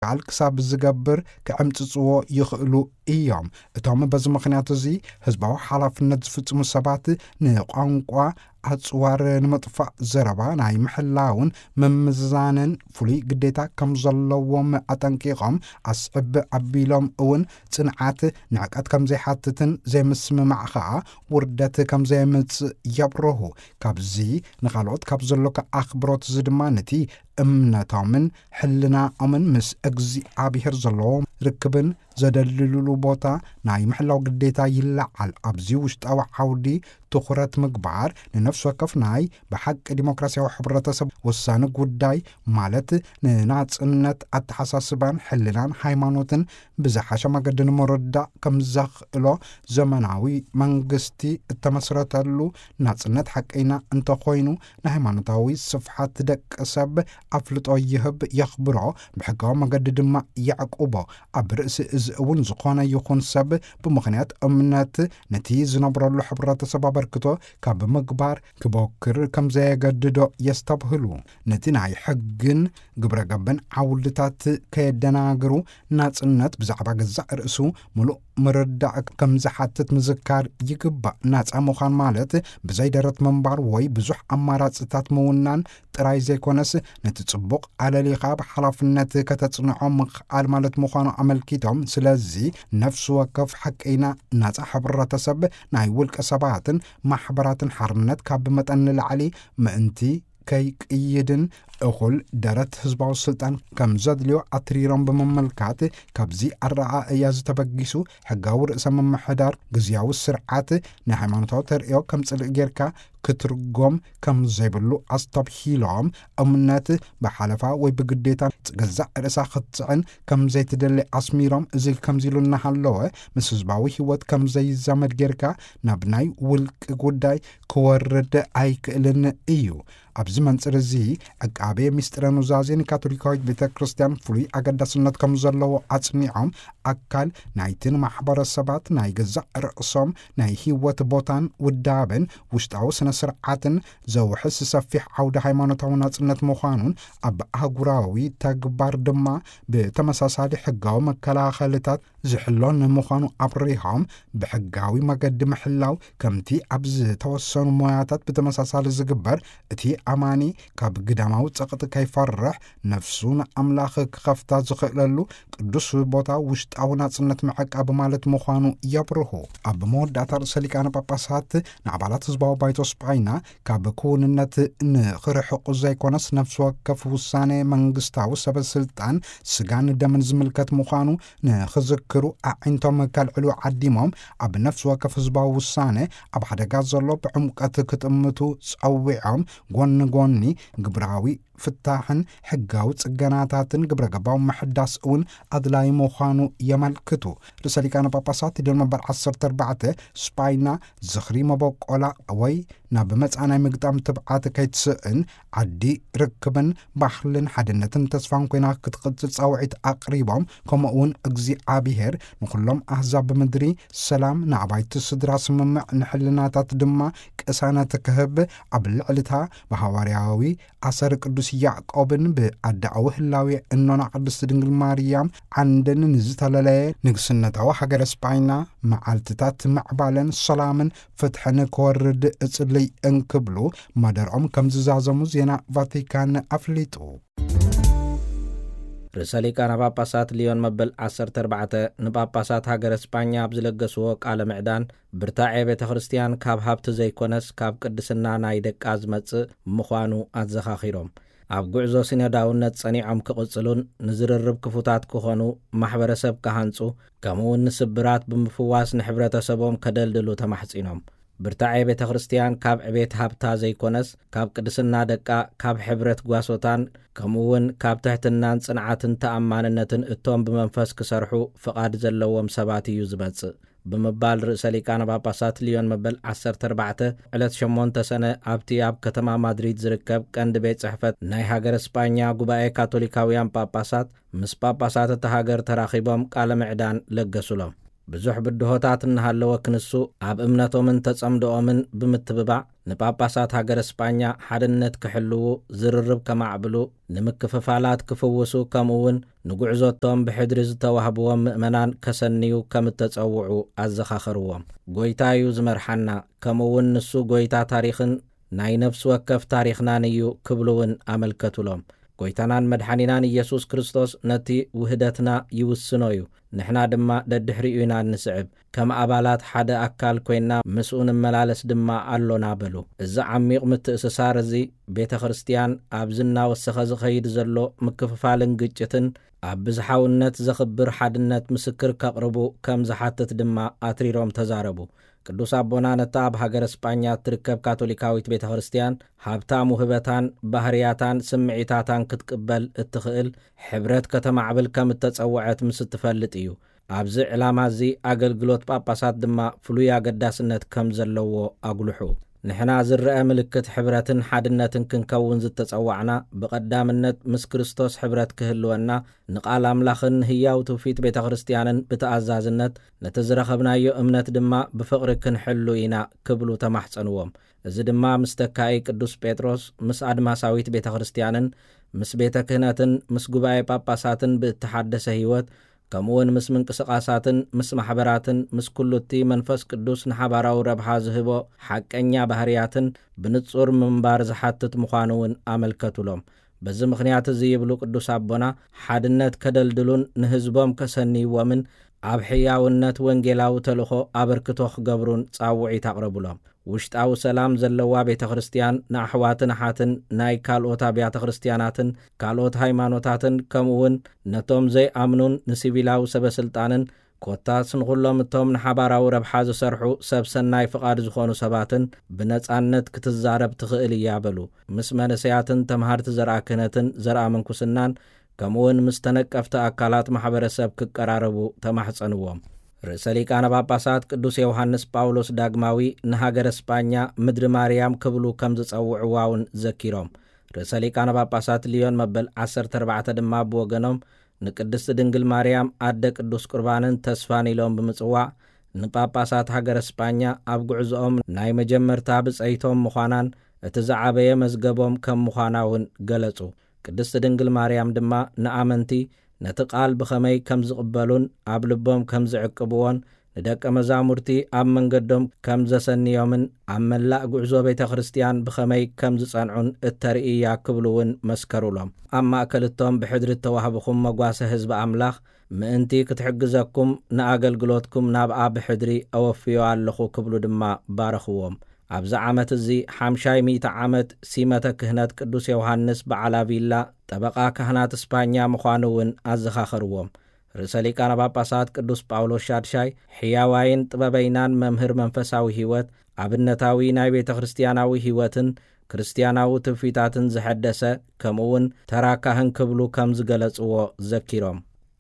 ምክልኻል ክሳብ ዝገብር ክዕምጽጽዎ ይኽእሉ እዮም። እቶም በዚ ምኽንያት እዚ ህዝባዊ ሓላፍነት ዝፍጽሙ ሰባት ንቋንቋ ኣጽዋር ንምጥፋእ ዘረባ ናይ ምሕላውን ምምዝዛንን ፍሉይ ግዴታ ከም ዘለዎም ኣጠንቂቖም፣ ኣስዕብ ኣቢሎም እውን ጽንዓት ንዕቀት ከም ዘይሓትትን ዘይምስምማዕ ኸኣ ውርደት ከም ዘየምጽእ የብርሁ። ካብዚ ንኻልኦት ካብ ዘሎካ ኣኽብሮት እዚ ድማ ነቲ እምነቶምን ሕልናኦምን ምስ እግዚኣብሔር ዘለዎም ርክብን ዘደልልሉ ቦታ ናይ ምሕላው ግዴታ ይለዓል። ኣብዚ ውሽጣዊ ዓውዲ ትኹረት ምግባር ንነፍሲ ወከፍ ናይ ብሓቂ ዲሞክራሲያዊ ሕብረተሰብ ወሳኒ ጉዳይ፣ ማለት ንናጽነት ኣተሓሳስባን ሕልናን ሃይማኖትን ብዝሓሸ መገዲ ንምርዳእ ከም ዘኽእሎ ዘመናዊ መንግስቲ እተመስረተሉ ናጽነት ሓቀይና እንተኾይኑ፣ ንሃይማኖታዊ ስፍሓት ደቂ ሰብ ኣፍልጦ ይህብ፣ የኽብሮ፣ ብሕጋዊ መገዲ ድማ የዕቁቦ። ኣብ ርእሲ እዚ እውን ዝኾነ ይኹን ሰብ ብምኽንያት እምነት ነቲ ዝነብረሉ ሕብረተሰብ ኣበርክቶ ካብ ምግባር ክቦክር ከም ዘየገድዶ የስተብህሉ። ነቲ ናይ ሕግን ግብረ ገብን ዓውድታት ከየደናግሩ ናጽነት ብዛዕባ ገዛእ ርእሱ ምሉእ ምርዳእ ከም ዝሓትት ምዝካር ይግባእ። ናጻ ምዃን ማለት ብዘይ ደረት ምንባር ወይ ብዙሕ ኣማራጽታት ምውናን ጥራይ ዘይኮነስ፣ ነቲ ጽቡቕ ኣለሊኻ ብሓላፍነት ከተጽንዖ ምኽኣል ማለት ምዃኑ ኣመልኪቶም፣ ስለዚ ነፍሲ ወከፍ ሓቀይና ናጻ ሕብረተሰብ ናይ ውልቀ ሰባትን ማሕበራትን ሓርነት ካብ መጠን ንላዕሊ ምእንቲ ከይቅይድን እኹል ደረት ህዝባዊ ስልጣን ከም ዘድልዮ ኣትሪሮም ብምምልካት፣ ካብዚ ኣረኣእያ ዝተበጊሱ ሕጋዊ ርእሰ ምምሕዳር ግዝያዊ ስርዓት ንሃይማኖታዊ ተርእዮ ከም ጽልኢ ጌርካ ክትርጎም ከም ዘይብሉ ኣስተብሂሎም፣ እምነት ብሓለፋ ወይ ብግዴታ ገዛእ ርእሳ ክትጽዕን ከም ዘይትደሊ ኣስሚሮም፣ እዚ ከምዚ ኢሉ እናሃለወ፣ ምስ ህዝባዊ ህይወት ከም ዘይዛመድ ጌርካ ናብ ናይ ውልቂ ጉዳይ ክወርድ ኣይክእልን እዩ። ኣብዚ መንጽር እዚ፣ ዕቃቤ ምስጢረ ኑዛዜ ንካቶሊካዊት ቤተ ክርስቲያን ፍሉይ ኣገዳስነት ከም ዘለዎ ኣጽኒዖም፣ ኣካል ናይቲ ንማሕበረሰባት ናይ ገዛእ ርእሶም ናይ ህይወት ቦታን ውዳበን ውሽጣዊ ስነ ስርዓትን ዘውሕስ ሰፊሕ ዓውደ ሃይማኖታዊ ናጽነት ምዃኑን፣ ኣብ ኣህጉራዊ ተግባር ድማ ብተመሳሳሊ ሕጋዊ መከላኸልታት ዝሕሎን ምዃኑ ኣብሪሆም፣ ብሕጋዊ መገዲ ምሕላው ከምቲ ኣብ ዝተወሰኑ ሞያታት ብተመሳሳሊ ዝግበር፣ እቲ ኣማኒ ካብ ግዳማዊ ጸቕጢ ከይፈርሕ፣ ነፍሱ ንኣምላኽ ክኸፍታ ዝኽእለሉ ቅዱስ ቦታ ውሽጣዊ ናጽነት ምዕቃብ ማለት ምዃኑ የብርሁ። ኣብ መወዳእታ ርእሰ ሊቃነ ጳጳሳት ንኣባላት ህዝባዊ ባይቶ ስጳይና ካብ ክውንነት ንኽርሕቑ ዘይኮነስ፣ ነፍሲ ወከፍ ውሳኔ መንግስታዊ ሰበ ስልጣን ስጋን ደምን ዝምልከት ምዃኑ ንኽዝክሩ ኣዒንቶም ከልዕሉ ዓዲሞም፣ ኣብ ነፍሲ ወከፍ ህዝባዊ ውሳኔ ኣብ ሓደጋ ዘሎ ብዕምቀት ክጥምቱ ጸዊዖም፣ ጎኒ ጎኒ ግብራዊ ፍታሕን ሕጋዊ ጽገናታትን ግብረ ገባዊ ምሕዳስ እውን ኣድላዪ ምዃኑ የመልክቱ። ርእሰ ሊቃነ ጳጳሳት ሊዮን መበል ዓሰርተ ኣርባዕተ፣ ስጳይና ዝኽሪ መበቆላ ወይ ናብ መጻኢ ናይ ምግጣም ትብዓት ከይትስእን፣ ዓዲ ርክብን ባህልን ሓድነትን ተስፋን ኮይና ክትቕጽል ጻውዒት ኣቕሪቦም፣ ከምኡ እውን እግዚኣብሔር ንኹሎም ኣህዛብ ምድሪ ሰላም፣ ንኣባይቲ ስድራ ስምምዕ፣ ንሕልናታት ድማ ቅሳነት ክህብ፣ ኣብ ልዕሊታ ብሃዋርያዊ ኣሰር ቅዱስ ያዕቆብን ብኣዳኣዊ ህላዌ እኖና ቅድስቲ ድንግል ማርያም ዓንድን ንዝተለለየ ንግስነታዊ ሃገረ ስጳይና መዓልትታት ምዕባለን ሰላምን ፍትሕን ክወርድ እጽልይ እንክብሉ መደርኦም ከም ዝዛዘሙ ዜና ቫቲካን ኣፍሊጡ። ርእሰ ሊቃነ ጳጳሳት ሊዮን መበል ዓሰርተ ኣርባዕተ ንጳጳሳት ሃገረ ስጳኛ ኣብ ዝለገስዎ ቃለ ምዕዳን፣ ብርታዔ ቤተ ክርስቲያን ካብ ሃብቲ ዘይኮነስ ካብ ቅድስና ናይ ደቃ ዝመጽእ ምዃኑ ኣዘኻኺሮም፣ ኣብ ጉዕዞ ሲኖዳውነት ጸኒዖም ክቕጽሉን ንዝርርብ ክፉታት ክኾኑ፣ ማሕበረሰብ ክሃንጹ፣ ከምኡውን ንስብራት ብምፍዋስ ንሕብረተሰቦም ከደልድሉ ተማሕጺኖም። ብርታዔ ቤተ ክርስቲያን ካብ ዕቤት ሃብታ ዘይኮነስ፣ ካብ ቅድስና ደቃ፣ ካብ ሕብረት ጓሶታን፣ ከምኡውን ካብ ትሕትናን ጽንዓትን ተኣማንነትን እቶም ብመንፈስ ክሰርሑ ፍቓድ ዘለዎም ሰባት እዩ ዝመጽእ ብምባል ርእሰ ሊቃነ ጳጳሳት ሊዮን መበል ዓሰርተ ኣርባዕተ ዕለት ሸሞንተ ሰነ ኣብቲ ኣብ ከተማ ማድሪድ ዝርከብ ቀንዲ ቤት ጽሕፈት ናይ ሃገረ ስጳኛ ጉባኤ ካቶሊካውያን ጳጳሳት ምስ ጳጳሳት እታ ሃገር ተራኺቦም ቃለ ምዕዳን ለገሱሎም። ብዙሕ ብድሆታት እናሃለወ ክንሱ፣ ኣብ እምነቶምን ተጸምዶኦምን ብምትብባዕ ንጳጳሳት ሃገረ ስጳኛ ሓድነት ክሕልዉ፣ ዝርርብ ከማዕብሉ፣ ንምክፍፋላት ክፍውሱ፣ ከምኡ እውን ንጉዕዞቶም ብሕድሪ ዝተዋህብዎም ምእመናን ከሰንዩ ከም እተጸውዑ ኣዘኻኸርዎም። ጎይታ እዩ ዝመርሓና፣ ከምኡ እውን ንሱ ጎይታ ታሪኽን ናይ ነፍሲ ወከፍ ታሪኽናን እዩ ክብሉ እውን ኣመልከቱሎም። ጎይታናን መድሓኒናን ኢየሱስ ክርስቶስ ነቲ ውህደትና ይውስኖ እዩ፣ ንሕና ድማ ደድሕሪኡ ኢና እንስዕብ። ከም ኣባላት ሓደ ኣካል ኮይና ምስኡ ንመላለስ ድማ ኣሎና በሉ። እዚ ዓሚቕ ምትእስሳር እዚ ቤተ ክርስቲያን ኣብዚ እናወሰኸ ዝኸይድ ዘሎ ምክፍፋልን ግጭትን ኣብ ብዝሓውነት ዘኽብር ሓድነት ምስክር ከቕርቡ ከም ዝሓትት ድማ ኣትሪሮም ተዛረቡ። ቅዱስ ኣቦና ነታ ኣብ ሃገረ ስጳኛ እትርከብ ካቶሊካዊት ቤተ ክርስቲያን ሃብታም ውህበታን ባህርያታን ስምዒታታን ክትቅበል እትኽእል ሕብረት ከተማዕብል ከም እተጸውዐት ምስ እትፈልጥ እዩ። ኣብዚ ዕላማ እዚ ኣገልግሎት ጳጳሳት ድማ ፍሉይ ኣገዳስነት ከም ዘለዎ ኣጉልሑ። ንሕና ዝረአ ምልክት ሕብረትን ሓድነትን ክንከውን ዝተጸዋዕና ብቐዳምነት ምስ ክርስቶስ ሕብረት ክህልወና ንቓል ኣምላኽን ንህያው ትውፊት ቤተ ክርስቲያንን ብተኣዛዝነት ነቲ ዝረኸብናዮ እምነት ድማ ብፍቕሪ ክንሕሉ ኢና ክብሉ ተማሕጸንዎም። እዚ ድማ ምስ ተካኢ ቅዱስ ጴጥሮስ፣ ምስ ኣድማሳዊት ቤተ ክርስቲያንን ምስ ቤተ ክህነትን ምስ ጉባኤ ጳጳሳትን ብእተሓደሰ ህይወት ከምኡውን ምስ ምንቅስቓሳትን ምስ ማሕበራትን ምስ ኩሉ እቲ መንፈስ ቅዱስ ንሓባራዊ ረብሓ ዝህቦ ሓቀኛ ባህርያትን ብንጹር ምንባር ዝሓትት ምዃኑ እውን ኣመልከቱሎም። በዚ ምኽንያት እዚ ይብሉ ቅዱስ ኣቦና፣ ሓድነት ከደልድሉን ንህዝቦም ከሰንይዎምን ኣብ ሕያውነት ወንጌላዊ ተልእኾ ኣበርክቶ ክገብሩን ጻውዒት ኣቕረቡሎም። ውሽጣዊ ሰላም ዘለዋ ቤተ ክርስቲያን ንኣሕዋትን ኣሓትን ናይ ካልኦት ኣብያተ ክርስቲያናትን ካልኦት ሃይማኖታትን ከምኡ እውን ነቶም ዘይኣምኑን ንሲቪላዊ ሰበ ስልጣንን ኮታስ ንኹሎም እቶም ንሓባራዊ ረብሓ ዝሰርሑ ሰብ ሰናይ ፍቓድ ዝኾኑ ሰባትን ብነጻነት ክትዛረብ ትኽእል እያ በሉ። ምስ መንእሰያትን ተምሃርቲ ዘርኣ ክህነትን ዘርኣ ምንኩስናን ከምኡውን ምስ ተነቀፍቲ ኣካላት ማሕበረሰብ ክቀራረቡ ተማሕጸንዎም። ርእሰ ሊቃነ ጳጳሳት ቅዱስ ዮሃንስ ጳውሎስ ዳግማዊ ንሃገረ ስጳኛ ምድሪ ማርያም ክብሉ ከም ዝጸውዕዋ እውን ዘኪሮም። ርእሰ ሊቃነ ጳጳሳት ሊዮን መበል ዓሰርተ ኣርባዕተ ድማ ብወገኖም ንቅድስቲ ድንግል ማርያም ኣደ ቅዱስ ቁርባንን ተስፋን ኢሎም ብምጽዋዕ ንጳጳሳት ሃገረ ስጳኛ ኣብ ጉዕዞኦም ናይ መጀመርታ ብጸይቶም ምዃናን እቲ ዝዓበየ መዝገቦም ከም ምዃና እውን ገለጹ። ቅድስቲ ድንግል ማርያም ድማ ንኣመንቲ ነቲ ቃል ብኸመይ ከም ዝቕበሉን ኣብ ልቦም ከም ዝዕቅብዎን ንደቀ መዛሙርቲ ኣብ መንገዶም ከም ዘሰንዮምን ኣብ መላእ ጉዕዞ ቤተ ክርስቲያን ብኸመይ ከም ዝጸንዑን እተርኢ እያ ክብሉ እውን መስከሩሎም። ኣብ ማእከል እቶም ብሕድሪ እተዋህብኹም መጓሰ ህዝቢ ኣምላኽ ምእንቲ ክትሕግዘኩም ንኣገልግሎትኩም ናብኣ ብሕድሪ ኣወፍዮ ኣለኹ ክብሉ ድማ ባረኽዎም። ኣብዚ ዓመት እዚ ሓምሻይ ሚእቲ ዓመት ሲመተ ክህነት ቅዱስ ዮሃንስ በዓል ኣቪላ ጠበቓ ካህናት እስጳኛ ምዃኑ እውን ኣዘኻኸርዎም። ርእሰ ሊቃነ ጳጳሳት ቅዱስ ጳውሎስ ሻድሻይ ሕያዋይን ጥበበይናን መምህር መንፈሳዊ ህይወት፣ ኣብነታዊ ናይ ቤተ ክርስቲያናዊ ህይወትን ክርስቲያናዊ ትውፊታትን ዝሐደሰ፣ ከምኡ እውን ተራ ካህን ክብሉ ከም ዝገለጽዎ ዘኪሮም፣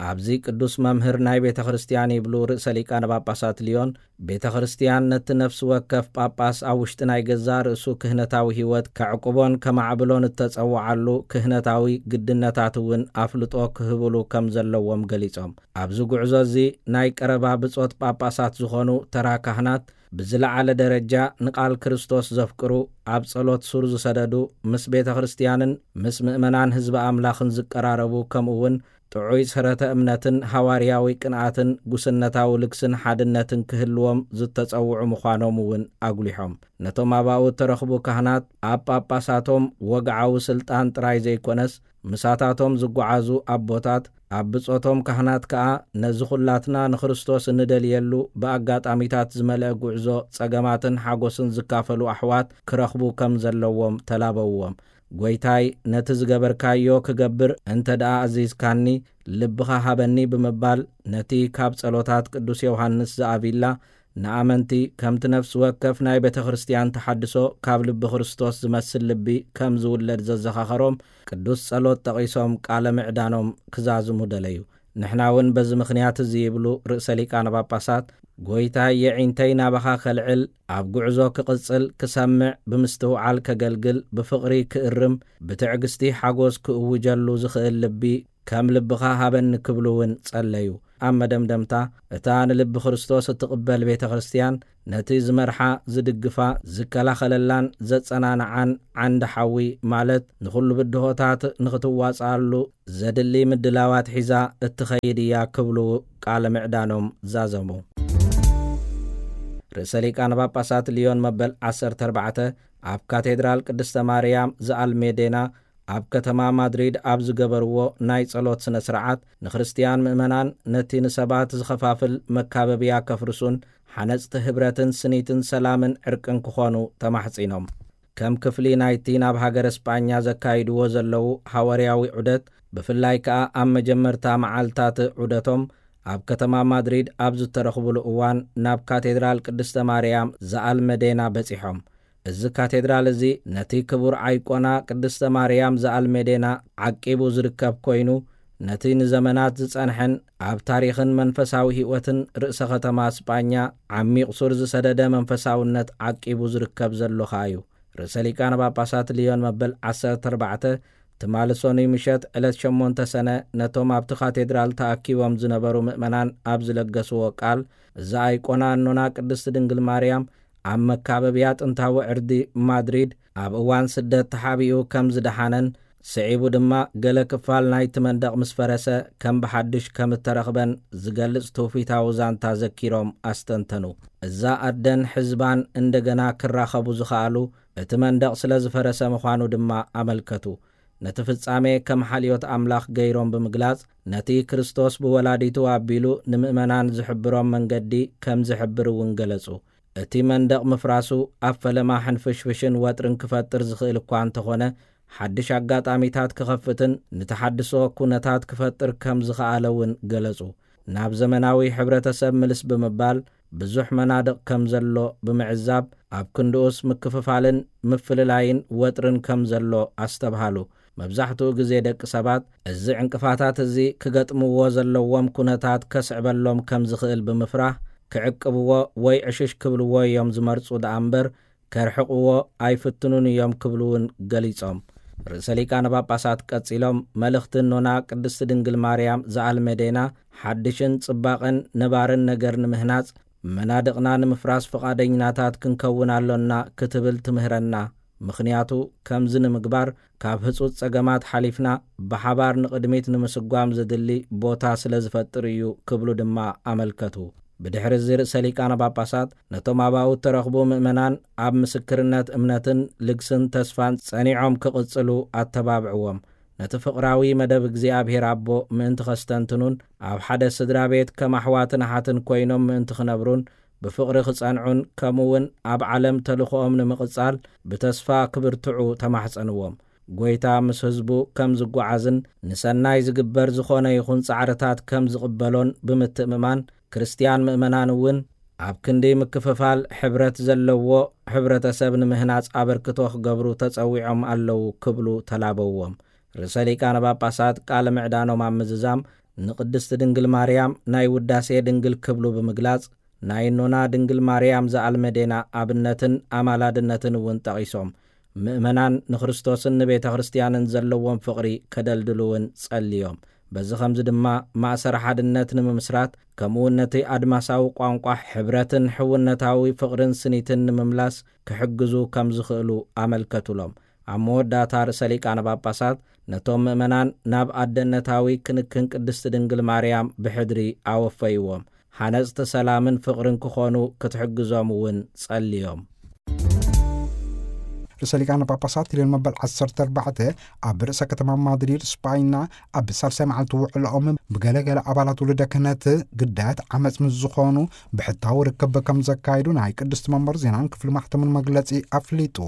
ኣብዚ ቅዱስ መምህር ናይ ቤተ ክርስቲያን ይብሉ ርእሰ ሊቃነ ጳጳሳት ሊዮን፣ ቤተ ክርስቲያን ነቲ ነፍሲ ወከፍ ጳጳስ ኣብ ውሽጢ ናይ ገዛእ ርእሱ ክህነታዊ ህይወት ከዕቁቦን ከማዕብሎን እተጸውዓሉ ክህነታዊ ግድነታት እውን ኣፍልጦ ክህብሉ ከም ዘለዎም ገሊጾም፣ ኣብዚ ጉዕዞ እዚ ናይ ቀረባ ብጾት ጳጳሳት ዝኾኑ ተራ ካህናት ብዝለዓለ ደረጃ ንቓል ክርስቶስ ዘፍቅሩ፣ ኣብ ጸሎት ሱር ዝሰደዱ፣ ምስ ቤተ ክርስቲያንን ምስ ምእመናን ህዝቢ ኣምላኽን ዝቀራረቡ፣ ከምኡ እውን ጥዑይ ሰረተ እምነትን ሃዋርያዊ ቅንኣትን ጉስነታዊ ልግስን ሓድነትን ክህልዎም ዝተጸውዑ ምዃኖም እውን ኣጉሊሖም። ነቶም ኣባኡ እተረኽቡ ካህናት ኣብ ጳጳሳቶም ወግዓዊ ስልጣን ጥራይ ዘይኮነስ፣ ምሳታቶም ዝጓዓዙ ኣቦታት፣ ኣብ ብጾቶም ካህናት ከኣ ነዚ ኹላትና ንክርስቶስ እንደልየሉ ብኣጋጣሚታት ዝመልአ ጉዕዞ ጸገማትን ሓጎስን ዝካፈሉ ኣሕዋት ክረኽቡ ከም ዘለዎም ተላበውዎም። ጎይታይ፣ ነቲ ዝገበርካዮ ክገብር እንተ ደኣ ኣዚዝካኒ፣ ልብኻ ሃበኒ ብምባል ነቲ ካብ ጸሎታት ቅዱስ ዮሃንስ ዘኣቪላ ንኣመንቲ ከምቲ ነፍሲ ወከፍ ናይ ቤተ ክርስቲያን ተሓድሶ ካብ ልቢ ክርስቶስ ዝመስል ልቢ ከም ዝውለድ ዘዘኻኸሮም ቅዱስ ጸሎት ጠቒሶም ቃለ ምዕዳኖም ክዛዝሙ ደለዩ። ንሕና እውን በዚ ምኽንያት እዚ ይብሉ ርእሰ ሊቃነ ጳጳሳት፣ ጎይታይ የዒንተይ ናባኻ ከልዕል፣ ኣብ ጉዕዞ ክቕጽል፣ ክሰምዕ፣ ብምስትውዓል ከገልግል፣ ብፍቕሪ ክእርም፣ ብትዕግስቲ ሓጎስ ክእውጀሉ ዝኽእል ልቢ ከም ልብኻ ሃበኒ ክብሉ እውን ጸለዩ። ኣብ መደምደምታ፣ እታ ንልቢ ክርስቶስ እትቕበል ቤተ ክርስቲያን፣ ነቲ ዝመርሓ፣ ዝድግፋ፣ ዝከላኸለላን ዘጸናንዓን ዓንዲ ሓዊ፣ ማለት ንኹሉ ብድሆታት ንኽትዋጽኣሉ ዘድሊ ምድላዋት ሒዛ እትኸይድ እያ ክብሉ ቃለ ምዕዳኖም ዛዘሙ። ርእሰ ሊቃነ ጳጳሳት ሊዮን መበል ዓሰርተ ኣርባዕተ ኣብ ካቴድራል ቅድስተ ማርያም ዘኣልሜዴና ኣብ ከተማ ማድሪድ ኣብ ዝገበርዎ ናይ ጸሎት ስነ ስርዓት፣ ንክርስትያን ምእመናን ነቲ ንሰባት ዝኸፋፍል መካበብያ ከፍርሱን ሓነጽቲ ህብረትን ስኒትን ሰላምን ዕርቅን ክኾኑ ተማሕጺኖም። ከም ክፍሊ ናይቲ ናብ ሃገረ ስጳኛ ዘካይድዎ ዘለዉ ሃዋርያዊ ዑደት፣ ብፍላይ ከኣ ኣብ መጀመርታ መዓልታት ዑደቶም ኣብ ከተማ ማድሪድ ኣብ ዝተረኽቡሉ እዋን፣ ናብ ካቴድራል ቅድስተ ማርያም ዘኣልመዴና በጺሖም። እዚ ካቴድራል እዚ ነቲ ክቡር ኣይቆና ቅድስተ ማርያም ዘኣልሜዴና ዓቂቡ ዝርከብ ኮይኑ፣ ነቲ ንዘመናት ዝጸንሐን ኣብ ታሪኽን መንፈሳዊ ህይወትን ርእሰ ከተማ ስጳኛ ዓሚቕ ሱር ዝሰደደ መንፈሳውነት ዓቂቡ ዝርከብ ዘሎ ኸኣ እዩ። ርእሰ ሊቃነ ጳጳሳት ሊዮን መበል ዓሰርተ ኣርባዕተ ትማሊ ሰኑይ ምሸት ዕለት ሸሞንተ ሰነ ነቶም ኣብቲ ካቴድራል ተኣኪቦም ዝነበሩ ምእመናን ኣብ ዝለገስዎ ቃል፣ እዛ ኣይቆና ኣኖና ቅድስቲ ድንግል ማርያም ኣብ መካበብያ ጥንታዊ ዕርዲ ማድሪድ ኣብ እዋን ስደት ተሓቢኡ ከም ዝደሓነን፣ ስዒቡ ድማ ገለ ክፋል ናይቲ መንደቕ ምስ ፈረሰ ከም ብሓድሽ ከም እተረኽበን ዝገልጽ ትውፊታዊ ዛንታ ዘኪሮም ኣስተንተኑ። እዛ ኣደን ሕዝባን እንደገና ክራኸቡ ዝኸኣሉ እቲ መንደቕ ስለ ዝፈረሰ ምዃኑ ድማ ኣመልከቱ። ነቲ ፍጻሜ ከም ሓልዮት ኣምላኽ ገይሮም ብምግላጽ፣ ነቲ ክርስቶስ ብወላዲቱ ኣቢሉ ንምእመናን ዝሕብሮም መንገዲ ከም ዝሕብር እውን ገለጹ። እቲ መንደቕ ምፍራሱ ኣብ ፈለማ ሕንፍሽፍሽን ወጥርን ክፈጥር ዝኽእል እኳ እንተኾነ፣ ሓድሽ ኣጋጣሚታት ክኸፍትን ንተሓድሶ ኩነታት ክፈጥር ከም ዝኸኣለ እውን ገለጹ። ናብ ዘመናዊ ሕብረተሰብ ምልስ ብምባል፣ ብዙሕ መናድቕ ከም ዘሎ ብምዕዛብ፣ ኣብ ክንድኡስ ምክፍፋልን ምፍልላይን ወጥርን ከም ዘሎ ኣስተብሃሉ። መብዛሕትኡ ግዜ ደቂ ሰባት እዚ ዕንቅፋታት እዚ ክገጥምዎ ዘለዎም ኩነታት ከስዕበሎም ከም ዝኽእል ብምፍራህ፣ ክዕቅብዎ ወይ ዕሽሽ ክብልዎ እዮም ዝመርጹ ደኣ እምበር፣ ከርሕቕዎ ኣይፍትኑን እዮም ክብሉ እውን ገሊጾም። ርእሰ ሊቃነ ጳጳሳት ቀጺሎም፣ መልእኽቲ እኖና ቅድስቲ ድንግል ማርያም ዘኣልመዴና፣ ሓድሽን ጽባቐን ነባርን ነገር ንምህናጽ፣ መናድቕና ንምፍራስ ፍቓደኛታት ክንከውን ኣሎና ክትብል ትምህረና። ምኽንያቱ፣ ከምዚ ንምግባር ካብ ህጹጽ ጸገማት ሓሊፍና ብሓባር ንቕድሚት ንምስጓም ዘድሊ ቦታ ስለ ዝፈጥር እዩ ክብሉ ድማ ኣመልከቱ። ብድሕሪ እዚ ርእሰ ሊቃነ ጳጳሳት ነቶም ኣባኡ እተረኽቡ ምእመናን ኣብ ምስክርነት እምነትን ልግስን ተስፋን ጸኒዖም ክቕጽሉ ኣተባብዕዎም። ነቲ ፍቕራዊ መደብ እግዚኣብሔር ኣቦ ምእንቲ ኸስተንትኑን ኣብ ሓደ ስድራ ቤት ከም ኣሕዋትን ኣሓትን ኮይኖም ምእንቲ ክነብሩን ብፍቕሪ ክጸንዑን ከምኡ እውን ኣብ ዓለም ተልእኾኦም ንምቕጻል ብተስፋ ክብርትዑ ተማሕጸንዎም። ጐይታ ምስ ህዝቡ ከም ዝጓዓዝን ንሰናይ ዝግበር ዝኾነ ይኹን ጻዕርታት ከም ዝቕበሎን ብምትእምማን፣ ክርስትያን ምእመናን እውን ኣብ ክንዲ ምክፍፋል ሕብረት ዘለዎ ሕብረተሰብ ንምህናጽ ኣበርክቶ ክገብሩ ተጸዊዖም ኣለዉ ክብሉ ተላበዎም። ርእሰ ሊቃነ ጳጳሳት ቃለ ምዕዳኖም ኣብ ምዝዛም፣ ንቅድስቲ ድንግል ማርያም ናይ ውዳሴ ድንግል ክብሉ ብምግላጽ፣ ናይ እኖና ድንግል ማርያም ዘኣልመዴና ኣብነትን ኣማላድነትን እውን ጠቒሶም፣ ምእመናን ንክርስቶስን ንቤተ ክርስቲያንን ዘለዎም ፍቕሪ ከደልድሉ እውን ጸልዮም። በዚ ኸምዚ ድማ ማእሰር ሓድነት ንምምስራት፣ ከምኡውን ነቲ ኣድማሳዊ ቋንቋ ሕብረትን ሕውነታዊ ፍቕርን ስኒትን ንምምላስ ክሕግዙ ከም ዝኽእሉ ኣመልከቱሎም። ኣብ መወዳእታ ርእሰ ሊቃነ ጳጳሳት ነቶም ምእመናን ናብ ኣደነታዊ ክንክን ቅድስቲ ድንግል ማርያም ብሕድሪ ኣወፈይዎም። ሓነጽቲ ሰላምን ፍቕርን ክኾኑ ክትሕግዞም እውን ጸልዮም። ርእሰ ሊቃነ ጳጳሳት ሊዮን መበል ዓሰርተ ኣርባዕተ ኣብ ርእሰ ከተማ ማድሪድ ስጳይና ኣብ ሳልሳይ መዓልቲ ውዕሎኦም ብገለገለ ኣባላት ውሉደ ክህነት ግዳያት ዓመፅ ምስ ዝኾኑ ብሕታዊ ርክብ ከም ዘካየዱ ናይ ቅድስቲ መንበር ዜናን ክፍሊ ማሕተምን መግለፂ ኣፍሊጡ።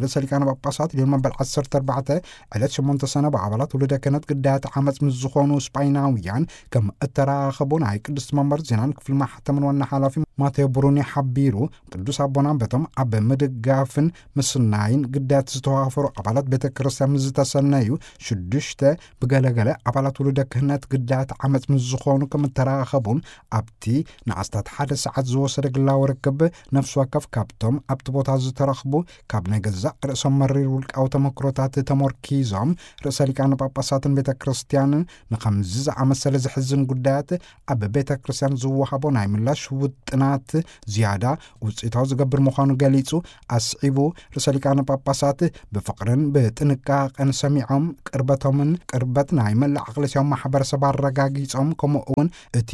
ርእሰ ሊቃነ ጳጳሳት ሊዮን መበል ዓሰርተ ኣርባዕተ ዕለት ሸሞንተ ሰነ ብኣባላት ውሉደ ክህነት ግዳያት ዓመፅ ምስ ዝኾኑ ስጳይናውያን ከም እተራኸቡ ናይ ቅድስቲ መንበር ዜናን ክፍሊ ማሕተምን ዋና ሓላፊ ማቴዎ ብሩኒ ሓቢሩ። ቅዱስ ኣቦና በቶም ኣብ ምድጋፍን ምስናይን ግዳያት ዝተዋፈሩ ኣባላት ቤተ ክርስቲያን ምስ ዝተሰነዩ፣ ሽዱሽተ ብገለገለ ኣባላት ውሉደ ክህነት ግዳያት ዓመፅ ምስ ዝኾኑ ከም እተራኸቡን፣ ኣብቲ ንኣስታት ሓደ ሰዓት ዝወሰደ ግላዊ ርክብ፣ ነፍሲ ወከፍ ካብቶም ኣብቲ ቦታ ዝተረኽቡ፣ ካብ ናይ ገዛእ ርእሶም መሪር ውልቃዊ ተመክሮታት ተሞርኪዞም፣ ርእሰ ሊቃነ ጳጳሳትን ቤተ ክርስቲያንን ንኸምዚ ዝኣመሰለ ዘሕዝን ጉዳያት ኣብ ቤተ ክርስቲያን ዝወሃቦ ናይ ምላሽ ውጥናት ዝያዳ ውፅኢታዊ ዝገብር ምዃኑ ገሊጹ፣ ኣስዒቡ፣ ርእሰ ሊቃነ ጳጳሳት ብፍቕርን ብጥንቃቐን ሰሚዖም፣ ቅርበቶምን ቅርበት ናይ መላእ ኣክለሲያዊ ማሕበረሰብ ኣረጋጊጾም፣ ከምኡ እውን እቲ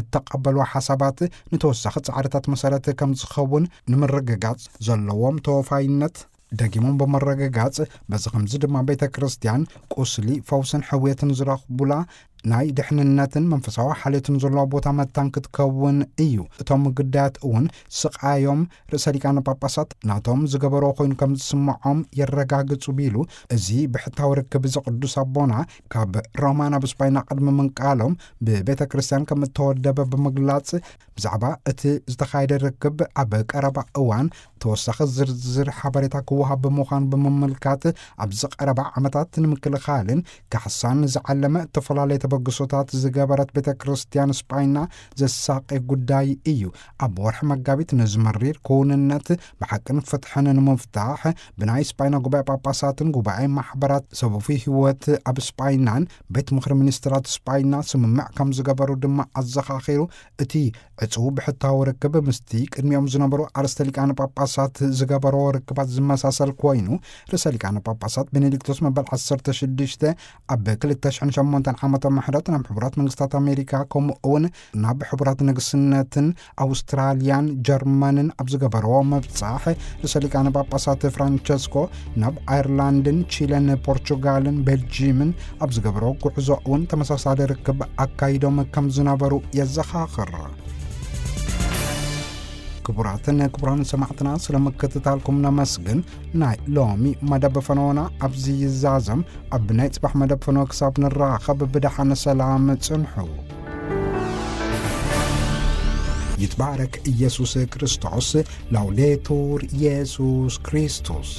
እተቐበልዎ ሓሳባት ንተወሳኺ ጻዕርታት መሰረት ከም ዝኸውን ንምርግጋጽ ዘለዎም ተወፋይነት ደጊሞም ብምርግጋጽ፣ በዚ ከምዚ ድማ ቤተ ክርስቲያን ቁስሊ ፈውስን ሕውየትን ዝረኽቡላ ናይ ድሕንነትን መንፈሳዊ ሓልዮትን ዘለዎ ቦታ መታን ክትከውን እዩ። እቶም ግዳያት እውን ስቓዮም ርእሰ ሊቃነ ጳጳሳት ናቶም ዝገበሮ ኮይኑ ከም ዝስምዖም የረጋግጹ ቢሉ፣ እዚ ብሕታዊ ርክብ እዚ ቅዱስ ኣቦና ካብ ሮማ ናብ ስጳይና ቅድሚ ምንቃሎም ብቤተ ክርስቲያን ከም እተወደበ ብምግላጽ፣ ብዛዕባ እቲ ዝተኻየደ ርክብ ኣብ ቀረባ እዋን ተወሳኺ ዝርዝር ሓበሬታ ክወሃብ ብምዃኑ ብምምልካት፣ ኣብዚ ቀረባ ዓመታት ንምክልኻልን ካሕሳን ዝዓለመ እተፈላለየ ተበግሶታት ዝገበረት ቤተ ክርስቲያን ስጳይና ዘሳቂ ጉዳይ እዩ። ኣብ ወርሒ መጋቢት ነዚ መሪር ክውንነት ብሓቅን ፍትሕን ንምፍታሕ ብናይ ስጳይና ጉባኤ ጳጳሳትን ጉባኤ ማሕበራት ሰቡፊ ህይወት ኣብ ስጳይናን ቤት ምኽሪ ሚኒስትራት ስጳይና ስምምዕ ከም ዝገበሩ ድማ ኣዘኻኺሩ፣ እቲ ዕጹው ብሕታዊ ርክብ ምስቲ ቅድሚኦም ዝነበሩ ኣርእስተ ሊቃነ ጳጳሳት ዝገበሮ ርክባት ዝመሳሰል ኮይኑ፣ ርእሰ ሊቃነ ጳጳሳት ቤኔዲክቶስ መበል ዓሰርተ ሽዱሽተ ኣብ ክልተ ሽሕን ሸሞንተን ዓመተ ምሕረት ናብ ሕቡራት መንግስታት ኣሜሪካ፣ ከምኡ እውን ናብ ሕቡራት ንግስነትን ኣውስትራልያን ጀርመንን ኣብ ዝገበርዎ ምብጻሕ፣ ርእሰ ሊቃነ ጳጳሳት ፍራንቸስኮ ናብ ኣየርላንድን ቺለን ፖርቹጋልን ቤልጂምን ኣብ ዝገበርዎ ጉዕዞ እውን ተመሳሳሊ ርክብ ኣካይዶም ከም ዝነበሩ የዘኻኽር። ክቡራትን ክቡራን ሰማዕትና፣ ስለ ምክትታልኩም ነመስግን። ናይ ሎሚ መደብ ፈነወና ኣብዚ ይዛዘም። ኣብ ናይ ጽባሕ መደብ ፈነወ ክሳብ ንራኸብ ብደሓን ሰላም ጽንሑ። ይትባረክ ኢየሱስ ክርስቶስ። ላውዴቱር ኢየሱስ ክርስቶስ።